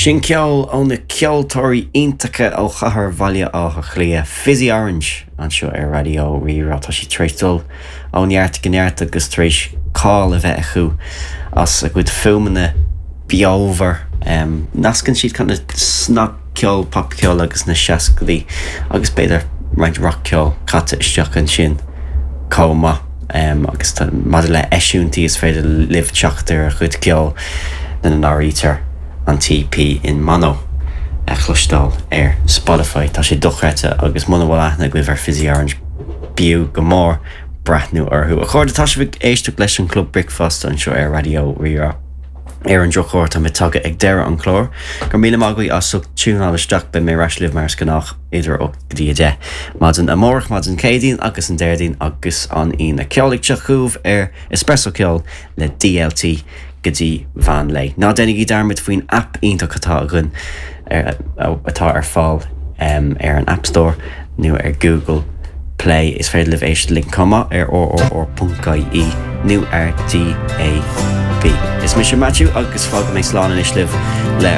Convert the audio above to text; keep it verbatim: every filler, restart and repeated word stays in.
Sin ceol ó na ceoltóirí iontacha ó chathair Bhaile Átha Cliath, Fizzy Orange anseo ar Raidió Rí-Rá tá siad tar éis dul ó neart go neart agus tar éis cáil a bheith acu as a gcuid fuaimeanna beomhar. Um, nascann siad kind of snagcheol popcheol agus na seascaidí agus b'fhéidir roinnt rockceol caite isteach ansin chomh maith. Um, agus maidir le eisiúintí is féidir libh teacht ar a chuid ceol lena n-áirítear an EP In Mono a chloisteáil ar Spotify Tá sé dochreidte agus muna bhfuil aithne agaibh ar Fizzy Orange b'fhiú go mór breathnú orthu. A chairde tá sibh ag éisteacht leis an Club Bricfeasta anseo ar Raidió Rí-Rá. Ar an drochuair tá mé tagtha ag deireadh an chláir, Gur míle maith as ucht tiúnáil isteach beidh mé ar ais libh mar is gnách idir ocht go dtí a deich. Maidin amárach maidin Céadaoin agus an Déardaoin agus an Aoine ceol ag teacht chugaibh ar Espresso Ceol le DLT go dtí meán lae. Ná déanaigí dearmad faoin app iontach atá againn atá ar fáil um, ar an App Store nó ar Google Play is féidir libh éisteacht linn chomh maith ar rrr.ie nó ar DAB. Is mise Matthew agus fágfaidh mé slán anois libh le